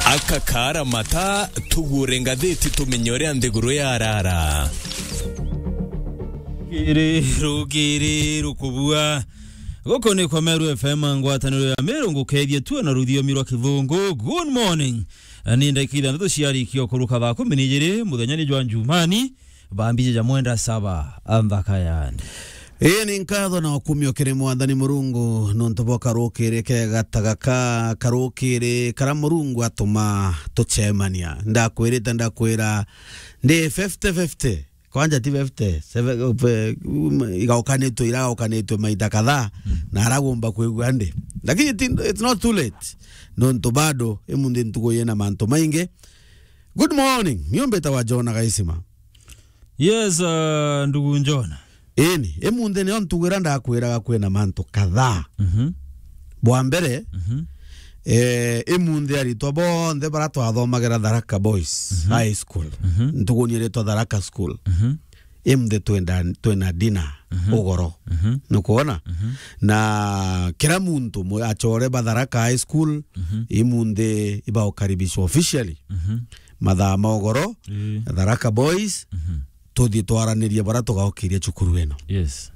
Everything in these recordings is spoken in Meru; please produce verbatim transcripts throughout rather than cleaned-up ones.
Akakara mata, tugure ngathiti tumenye uria nthiguru yarara. Rukiri, rukiri, rukubua. Guku ni kwa Meru F M, ngwataniro ya Meru, ngukethie tu na ruthiomi rwa Kithungu. Good morning. Ni ndagika ithanthatu ciarikia kuruka thaa kumi na ijiri, muthenya ni jwa Njumani. Bambije ja mwenda saba, anthaka yani. Ii ni nkatho na ukumio kiri Mwathani Murungu, nontu bwa karukiri kega ta gaka, karukiri kara Murungu atuma tucemania. Ndakwirite, ndakwira, ndi fifty fifty. Kwanja ti fifty, seve-, pe-, um, igaukanitwe, iragaukanitwe maita kadhaa, na aragomba kwigua ndi. Lakini ti, it's not too late. Nontu bado, imunthi ntuku yina mantu maingi. Good morning. Niumbite wa Jona Gaisima. Yes, uh, ndugu Njona. Ini, imunthi nio ntugira ndakwiraga kwina mantu kadhaa. Mhm. Bwa mbere, Mhm. eh, imunthi aritwa bonthe bara twathomagira Tharaka Boys Mhm. High School. Mhm. Ntugu ni iritwa Tharaka School. Mhm. Imunthi twenda, twina dinner Mhm. ugoro. Mhm. Nukwona? Mhm. Na kira muntu mu-, achore ba Tharaka High School, Mhm. imunthi ibaukaribishwa officially. Mhm. Mathaa ma ugoro, Ii. Tharaka Boys, Mhm. tuthii twaranirie bara tugaukiria cukuru ino. Yes.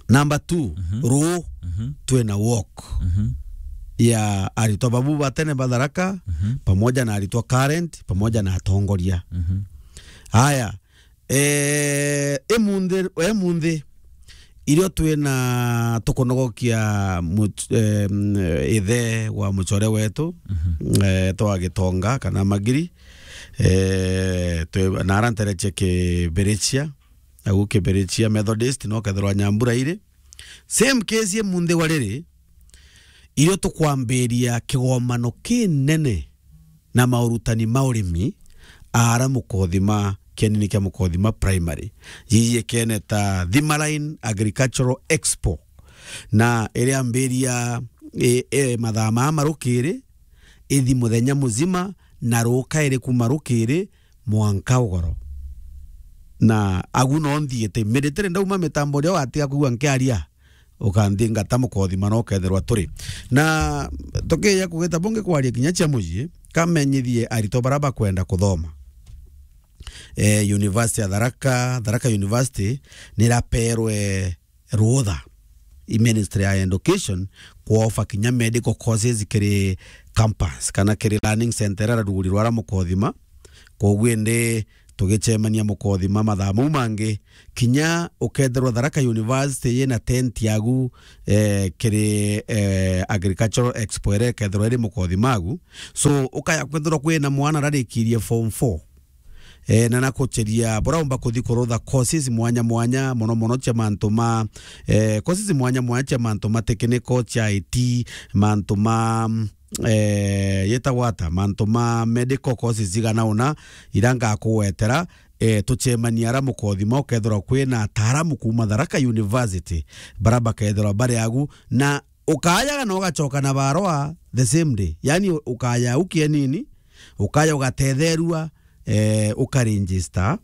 Number two, Mhm. ruu, Mhm. twina walk Mhm. ya aritwa babu ba tene ba Tharaka, Mhm. pamoja na aritwa current, pamoja na atongoria. Mhm. Haya, eh, imunthi, imunthi, irio twina tukunogokia much-, em, ithe wa mucore wetu, Mhm. eh, twa Gitonga kana Magiri, eh, twi-, na ara ntereche Kibirichia, au Kibirichia Methodist, no kethirwa Nyambura iri. Same case imunthi wa riri, irio tukwambiria kigomano kinene na maurutani ma urimi, ara Mukothima, kienini kia Mukothima Primary, yiyikene ta Thima Line Agricultural Expo, na iriambiria, e, e, mathaa maa ma rukiri, ithi muthenya muzima, na rukairi kuma rukiri mwanka ugoro. Na agu no nthiite, immediately ndauma mitambo ria watiga kwigua nkiaria, ukanthingata Mukothima na ukethirwa turi. Na tukiija kugita bungi kwaria kinya cia mucii, kamenyithie aritwa bara bakwenda kuthoma. Eh, University ya Tharaka, Tharaka University, niraperwe ruutha i Ministry ya Education kwofa kinya medical courses kiri campus kana kiri learning center iria ruguri rwa Mukothima. Kwoguo indi tugicemania Mukothima mathaa mau mangi, kinya ukethirwa Tharaka University yina tent yagu, eh, kiri, eh, Agricultural Expo iria ikethirwa iri Mukothima agu. So, ukaya kwethirwa kwina mwana ararikirie form four, eh, na nakucheria bura umba kuthi kurutha courses mwanya mwanya, mono mono cia mantu ma, eh, courses mwanya mwanya cia mantu ma technical, cia I T, mantu ma, eh, yetagwa ata, mantu ma medical courses igana una, ira ngakugwetera, eh, tucemania ara Mukothima, ukethirwa kwina ataaramu kuuma Tharaka University, bara bakethirwa bari agu, na ukayaga na ugacoka na barua the same day. Yani, ukaya ukienini, ukaya ugatetherua, eh, ukaregister,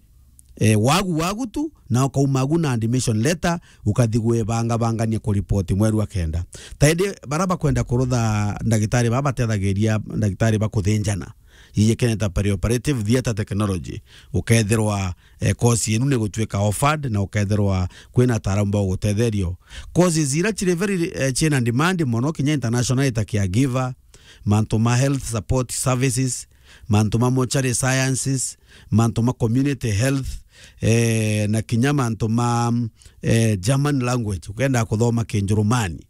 eh, wagu, wagu tu, na ukauma agu na admission letter, ukathi gwibangabangania kuripoti mweri wa kenda. Taindi bara bakwenda kurutha ndagitari baba batethagiria ndagitari ba kuthinjana, yiyikene ta perioperative theatre technology, ukethirwa, eh, course yenu ni gutuika offered na ukethirwa kwina ataaramu ba gugutetheria. Courses ira ciri very, eh, ciina demand mono kinya international ta caregiver, mantu ma health support services, mantu ma mortuary sciences, mantu ma community health, eh, na kinya mantu ma, eh, German language, ukenda kuthoma Kinjurumani,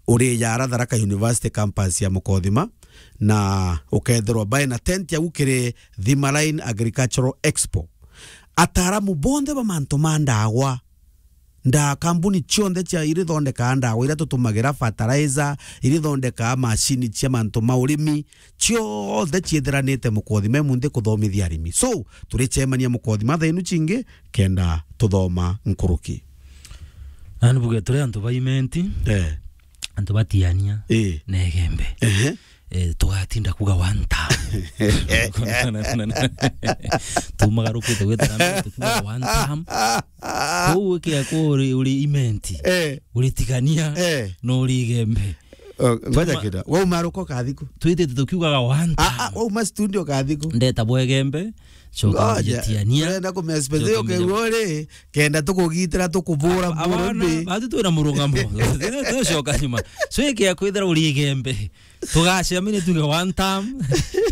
uri yara Tharaka University campus ya Mukothima, na ukethirwa bae na tent yagu kiri Thima Line Agricultural Expo. Ataaramu bonthe ba mantu ma ndawa, nda-, kambuni cionthe cia irithondekaa ndawa iria tutumagira, fertilizer, irithondekaa macini cia mantu ma urimi, cionthe ciithiranite Mukothima imunthi kuthomithia arimi. So, turicemania Mukothima thaa inu cingi kenda tuthoma nkuruki. Na ni buge turi antu ba Imenti, Eh. antu batiania Eh. na Igembe. Ehe. Eh, tugatinda kuga one term. Tumagarukite gwitana tukuga one term. Kou ikia ku uri, uri Imenti. Eh. Uri Tigania. Eh. No uri Igembe. Oh, ngoja kidogo. Wauma ruko kathiku. Twitite tukiugaga one time. Ah, ah, wauma studio kathiku. Ndeta bwegembe, coka Ngoja. Mjetiania. Turenda kumespecific Coka mjetiania. Ukeua uri, kenda tukugitira, tukubura, Aba-, bura abana, mbi. Batu twina murungamo. Tucoka nyuma. So, ikia kwithira uri igembe. Tugacemania tuge one time.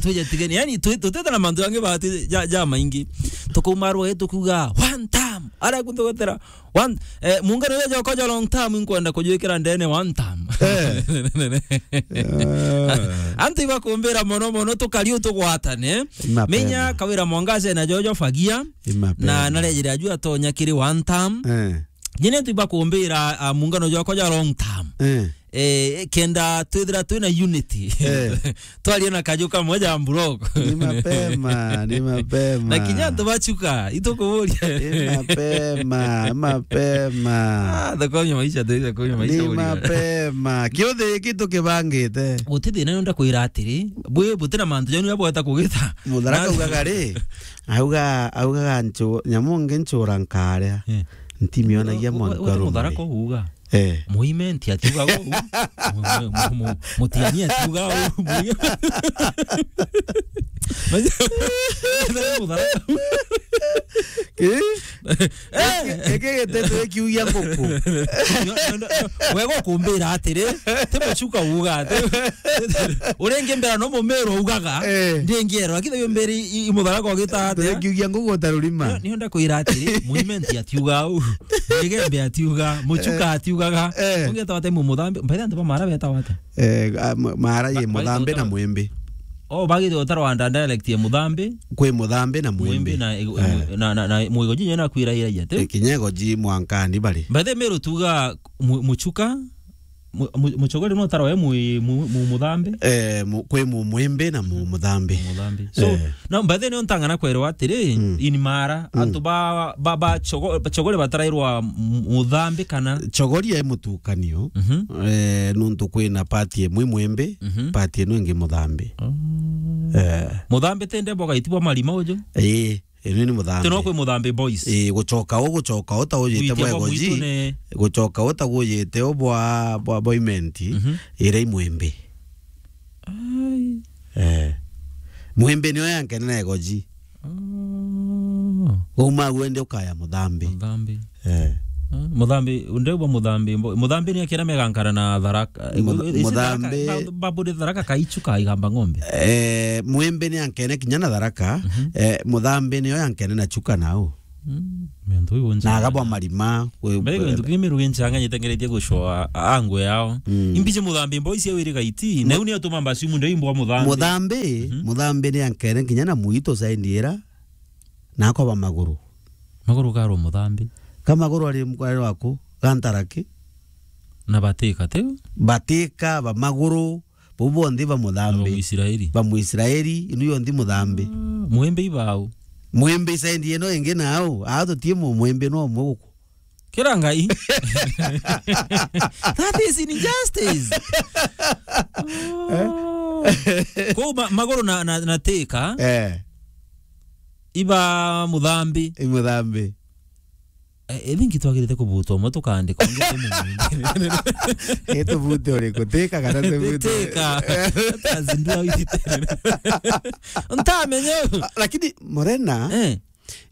Tujetigania. Yani, twi-, tutete na mantu jangi bati ja, ja maingi. Tukauma rwe tukiuga one time. Ara kuntu gwetera. One, eh, muungano uria jwakwa jwa long term, inkwenda kujwikira ndene one term. Eh. Ah. Antu ibakumbira mono mono, tukari utugwatane. Ni mapema. Menya Kawira Mwangaza na Jojo Fagia. Ni mapema. Na narejire aju atonya kiri one term. Eh. Nyene antu ibakumbira, ah, muungano jwakwa jwa long term. Eh. Eh, kenda twithira twina unity. Eh. Twaria na kaju kamwe ja mburoko. Ni mapema, ni mapema. Na kinya antu bachuka, itukuburia. Ni mapema, mapema. Ah, thakonywa maisha, thakonywa maisha. Ni mapema. Kiuthi giki tukibangite. Guti thina, nonda kwira atiri, bwi buti na mantu janu jabweta kugita. Mutharaka Na- ugaga ri, auga, augaga nchu-, nyamu ngi nchura nkaria. Eh. Ntimionagia We-, we-, mwanka we-, rumari. Mutharaka uga. Eh. Muimenti atiuga uu. Mu-, mu-, mu-, mu-, mutiani atiuga uu. Mutharaka. Ki? Eh. Eki giteto ikiugia nguku. Wega ukumbira atiri, ti muchuka uga ati. Uringi mbera no mumeru ugaga, Eh. ndingiero, lakini yo mberi i, i mutharaka ugita atia? Ikiugia nguku utarurima. Nio, nio ndakwira atiri, muimenti atiuga uu. Igembe atiuga, muchuka Eh. atiugaga. Eh. Ungeta wate mu muthambi, mbaitha antu ba mara beta wate. Eh, a, m-, mara ye Ba-, muthambi na baitha mwimbi. Oh, bagite utarwa nda dialect ye muthambi. Kwi muthambi na mwimbi. Mwimbi na, Eh. na, na, na, na mwigo jinyo na kwira ira yete. Eh, kinyego ji mwankani bari. Mbaitha meru tuga mu-, muchuka, mu-, mu-, muchogori no utarwa e mu-, mu-, mu-, muthambi. Eh, mu-, kwi mu-, mwimbi na mu-, muthambi. Muthambi. So, Eh. na mbaitha nio ntangana kwerwa atiri, Mm. in mara, Mm. antu ba, ba, ba chogo-, chogori batarairwa mu-, muthambi kana? Chogori e mutukanio, Mhm. eh, nuntu kwina pati imwe mwimbi, Mhm. pati ino ingi muthambi. Oh. Eh. Muthambi tende boga itibwa marima uju? Ii, ino ni muthambi. Tino kwi muthambi boys. Ii, guchoka u, guchoka u ta ujite Gwitia bwa bwa egoji. Mwitu ne- Guchoka u ta gujite u bwa, bwa, bwa imenti, Mhm. ira i mwimbi. Ai. Eh. Mwimbi nio yankene na egoji. Oh. Uma wende ukaya muthambi. Muthambi. Eh. Ah, muthambi, ndegwa muthambi, mbo-, muthambi ni akira megankara na tharaka. Mutha-, Isi tharaka, muthambi ba-, babure tharaka kaichu ka igamba ng'ombe. Eh, mwimbi ni ankene kinya na tharaka, Mhm. eh, muthambi nio yankene na chuka nau. Mm, miantu iu Na agabwa marima, we-, Mbere we-, kintu kingi miru ginchanganyite ngeretie gucoa angu yao. Mm. Imbiche muthambi mbo isi awiri gaiti, na Mu-, iu ni atuma mbasi munde imbwa muthambi. Muthambi, Mhm. muthambi ni ankene kinya na muito saindi ira, na akoba maguru. Maguru karo muthambi. Ka maguru ari mkwari waku, gantaraki. Na batika, tiu? Batika, ba maguru, bau bonthe ba muthambi. Ba Muisraeli. Ba Muisraeli, inu yonthe muthambi. Ah, mwimbi ibau. Mwimbi saindi ino ingi nau, aa tutie mu-, mwimbi no umwe guku. Kira ngai. That is injustice. Oh. Kou ma-, maguru na, na, na tika. Eh. Iba muthambi. I muthambi. Eh, I think twagirite kubuta umwe tukandika ungi ti mumwingi. Itubute uriku? Tika kana tubute? Tika. Tazindua witite. Ntamenye. Ah, lakini Morena, Eh.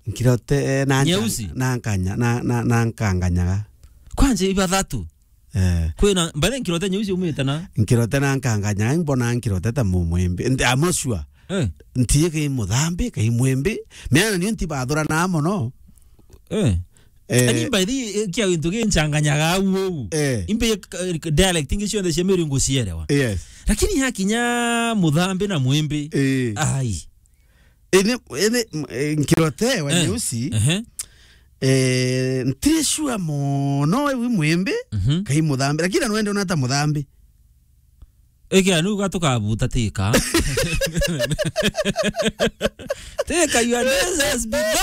nkirote, eh, na nka-, Nyeusi? na nkanya-, na, na, na nkanganyaga. Kwanje ibathatu. Eh. Kwina, mbere nkirote nyeusi umite na? Nkirote na nkanganyaga, mbona nkirote ta mumwimbi. Nti-, I'm not sure. Eh. Ntiye kai muthambi, kai mwimbi. Meana nio ntibathuranaa mono. Eh. Eh. Ani by the way, kia gintu ginchanganyaga au au. Eh. Imbe, eh, dialect ingi cionthe cia Meru ngucierewa. Yes. Lakini yakinya muthambi na mwimbi. Eh. Ai. Ene, ene, m-, eh, nkirote wa Eh. nyeusi. Ehe. Eh, ntiri sure mono we wi mwimbi, Mhm. kai muthambi. Lakini anwende unata muthambi. Eke anu gatukabuta tika. Tika, your days has begun.